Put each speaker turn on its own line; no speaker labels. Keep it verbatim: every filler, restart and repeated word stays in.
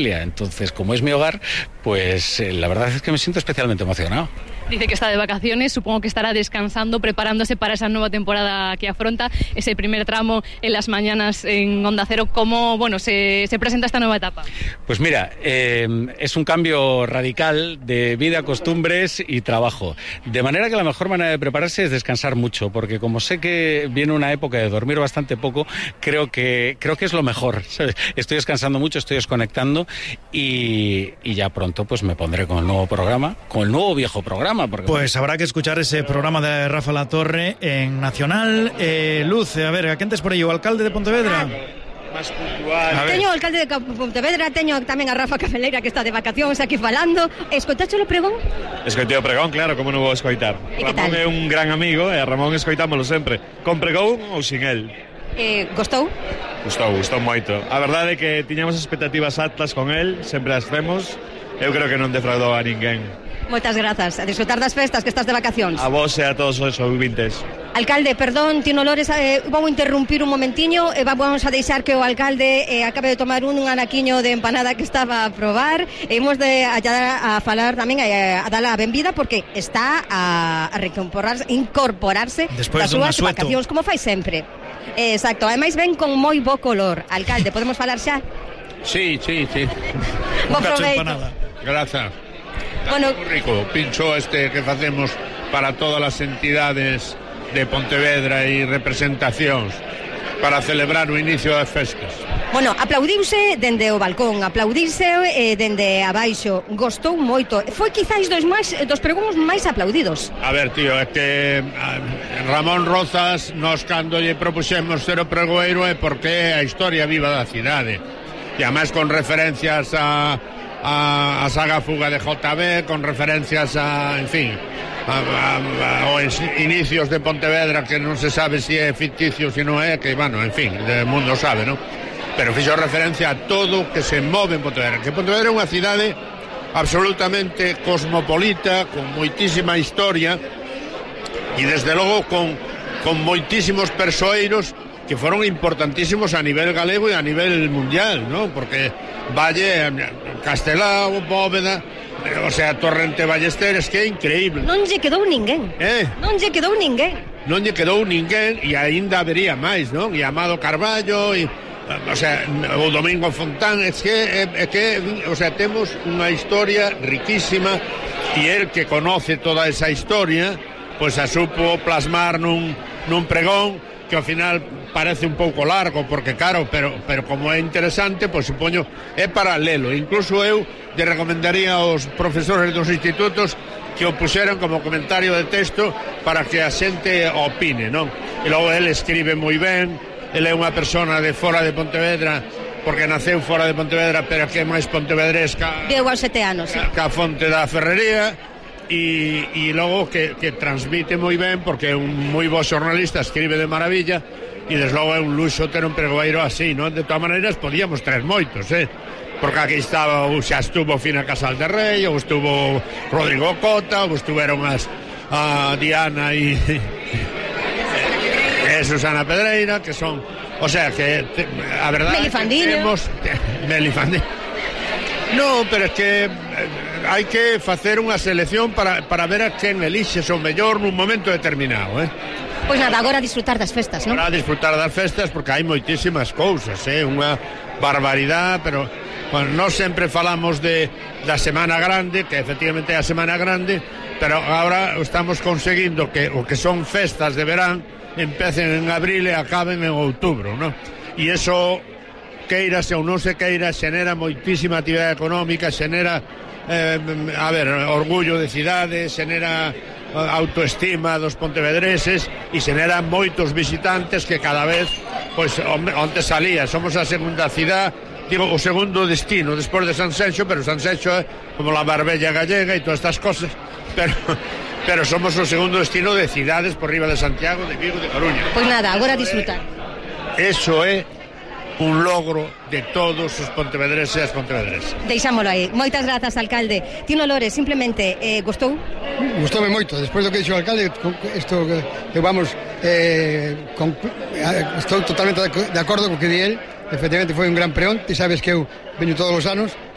Entonces, como es mi hogar, pues eh, la verdad es que me siento especialmente emocionado.
Dice que está de vacaciones, supongo que estará descansando, preparándose para esa nueva temporada que afronta, ese primer tramo en las mañanas en Onda Cero. ¿Cómo bueno, se, se presenta esta nueva etapa?
Pues mira, eh, es un cambio radical de vida, costumbres y trabajo. De manera que la mejor manera de prepararse es descansar mucho, porque como sé que viene una época de dormir bastante poco, creo que, creo que es lo mejor, ¿sabes? Estoy descansando mucho, estoy desconectando y, y ya pronto pues me pondré con el nuevo programa, con el nuevo viejo programa. Porque...
Pues habrá que escuchar ese programa de Rafa Latorre en Nacional. Eh, Luz, a ver, a quen tes por aí? O alcalde de Pontevedra?
Más puntual.
Teño o alcalde de Pontevedra, teño tamén a Rafa Cafeleira que está de vacacións aquí falando. Escoitache o pregón?
Escoitei o pregón, claro, como non vou escoitar. Ramón é un gran amigo e a Ramón escoitámolo sempre. Con pregón ou sin el?
Eh, gostou?
Gustou, gustou moito. A verdade é que tiñamos expectativas altas con el, sempre as temos. Eu creo que non defraudou a ninguén.
Moitas grazas, a disfrutar das festas que estás de vacacións.
A vos e a todos os ouvintes.
Alcalde, perdón, Tino Lores, eh, vou interrumpir un momentiño e eh, vamos a deixar que o alcalde eh, acabe de tomar un, un anaquiño de empanada que estaba a probar. E imos de a, a falar tamén a, a dar a benvida porque está a, a recomporarse, incorporarse das súas vacacións, como fai sempre. Eh, exacto, ademais ven con moi bo color. Alcalde, podemos falar xa?
Sí, sí, sí.
Bo proveito.
Grazas.
Bueno,
muy rico, pincho este que facemos para todas as entidades de Pontevedra e representacións para celebrar o inicio das festas.
Bueno, aplaudiuse dende o balcón, aplaudiuse eh, dende abaixo, gostou moito. Foi quizáis dos máis dos pregóns máis aplaudidos.
A ver, tío, é que Ramón Rozas, nos cando lle propuxemos ser o pregoeiro é porque é a historia viva da cidade. E además con referencias a A, a saga Fuga de J B, con referencias a, en fin, a, a, a, aos inicios de Pontevedra, que non se sabe se é ficticio, se non é, que, bueno, en fin, o mundo sabe, non? Pero fixo referencia a todo que se move en Pontevedra, que Pontevedra é unha cidade absolutamente cosmopolita, con moitísima historia, e desde logo con, con moitísimos persoeiros que foron importantísimos a nivel galego e a nivel mundial, ¿no? Porque Valle, Castelao, Bóveda, o sea, Torrente Ballesteres, que é increíble.
Non lle quedou ninguén.
Eh?
Non lle quedou ninguén.
Non lle quedou ninguén e aínda habería máis, non? E Amado Carballo e o sea, o Domingo Fontán, é que é que, o sea, temos unha historia riquísima e el que conoce toda esa historia, pois pues a supo plasmar nun nun pregón que ao final parece un pouco largo, porque claro, pero, pero como é interesante, pois supoño é paralelo. Incluso eu lle recomendaría aos profesores dos institutos que o puxeran como comentario de texto para que a xente opine, non? E logo ele escribe moi ben, ele é unha persona de fora de Pontevedra, porque naceu fora de Pontevedra, pero que é máis pontevedresca.
Deu aos sete anos, sí.
Ca fonte da Ferrería. E, e logo que, que transmite moi ben, porque é un moi bo xornalista, escribe de maravilla, e desde logo é un luxo ter un pregoeiro así, non? De todas maneiras podíamos traer moitos, eh? Porque aquí estaba, ou xa estuvo Fina Casal de Rei, ou estuvo Rodrigo Cota, ou estuveron as a Diana e, e Susana Pedreira, que son, o sea, que te, a verdade
Melifandinho.
Temos Melifandinho. No, pero é que hai que facer unha selección para, para ver a quen elixe o mellor nun momento determinado, eh?
Pois nada, agora a disfrutar das festas, non?
Agora a disfrutar das festas, porque hai moitísimas cousas, eh? Unha barbaridade, pero bueno, nós sempre falamos de da Semana Grande, que efectivamente é a Semana Grande, pero agora estamos conseguindo que o que son festas de verán empecen en abril e acaben en outubro, non? E iso, queirase ou non se queira, xenera moitísima actividade económica, xenera eh, a ver, orgullo de cidade, xenera autoestima dos pontevedreses e xenera moitos visitantes que cada vez, pois, onde salía, somos a segunda cidade, digo, o segundo destino despois de Sanxenxo, pero Sanxenxo é como la Marbella gallega e todas estas cosas, pero pero somos o segundo destino de cidades por riba de Santiago, de Vigo, de Coruña.
Pois nada, agora a disfrutar.
Eso é un logro de todos os pontevedreses e as pontevedresas.
Deixámolo aí. Moitas grazas, alcalde. Tino Lores, simplemente, eh, gustou?
Gustoume moito. Despois do que dixo o alcalde, isto que vamos, eh, con, estou totalmente de acordo co que di el, efectivamente foi un gran preón, ti sabes que eu veño todos os anos,